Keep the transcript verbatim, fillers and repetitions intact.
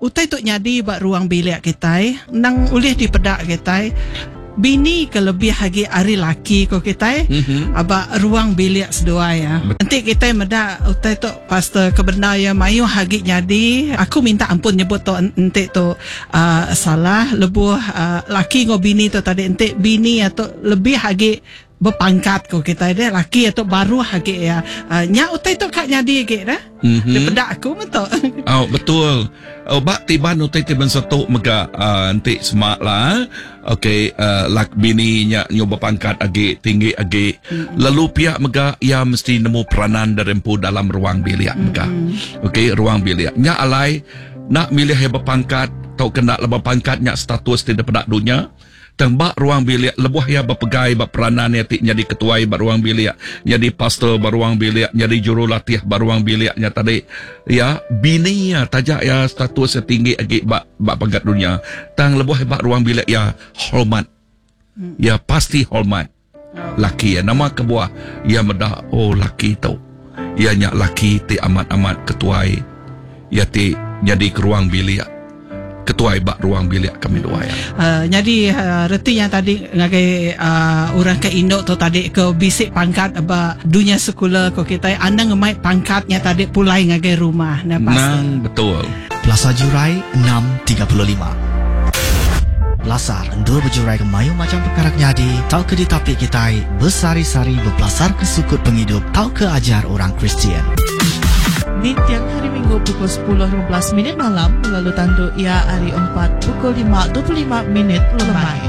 Utai tu nyadi ba ruang bilik kitai, nang ulih dipeda kitai. Bini ke lebih agi ari laki ko kitai, mm-hmm. aba ruang bilik seduai ya. Enti kitai meda utai tu pastor kebenar ya mayuh agi nyadi, aku minta ampun nyebut tu enti tu uh, salah lebuh uh, laki ngau bini tu tadi enti bini atau lebih agi berpangkat ko kitai deh laki atau baru agi ya. Uh, nya utai tu kak nyadi agi dah. Mm-hmm. Daripada aku betul. Oh betul. Oh bak tiban utai ti bensetu mega uh, enti semak lah. Okey uh, lak bini nya nyu berpangkat agi tinggi agi. Mm-hmm. Lalu pihak mega ia mesti nemu peranan dari empu dalam ruang bilik mega. Mm-hmm. Okey ruang bilik. Nya alai nak milih yang berpangkat atau kena lebih pangkat nya status ti daripada dunia. Tembak ruang bilik lebuh ia berpegai bak peranan ia ti jadi ketuai bak ruang bilik, jadi pastor bak ruang bilik, jadi jurulatih bak ruang biliknya tadi. Ya, bini ya tajak ya status yang tinggi lagi bak bak pangkat dunia. Tang lebuh bak ruang bilik ya hormat. Ya pasti hormat. Laki ya nama kebuah ya medak oh laki tu. Ya nya laki ti amat-amat ketuai. Ya ti jadi ke ruang bilik. Ketuai bak ruang bilik kami dua ya. Uh, jadi uh, reti yang tadi ngagai uh, orang ke induk tu tadi ke bisik pangkat ba dunia sekular ko kita anda ngemai pangkatnya tadi pulai ngagai rumah nah pastor. Nang betul. Plaza Jurai enam tiga puluh lima. Pelasar endur berjurai ke mayu macam perkara nyadi tau ke ditapik kitai besari-sari berpelasar ke sukut penghidup tau ke ajar orang Kristian. Di tiang hari Minggu pukul sepuluh lima belas minit malam lalu tanduk ia hari empat pukul lima dua puluh lima minit lemai.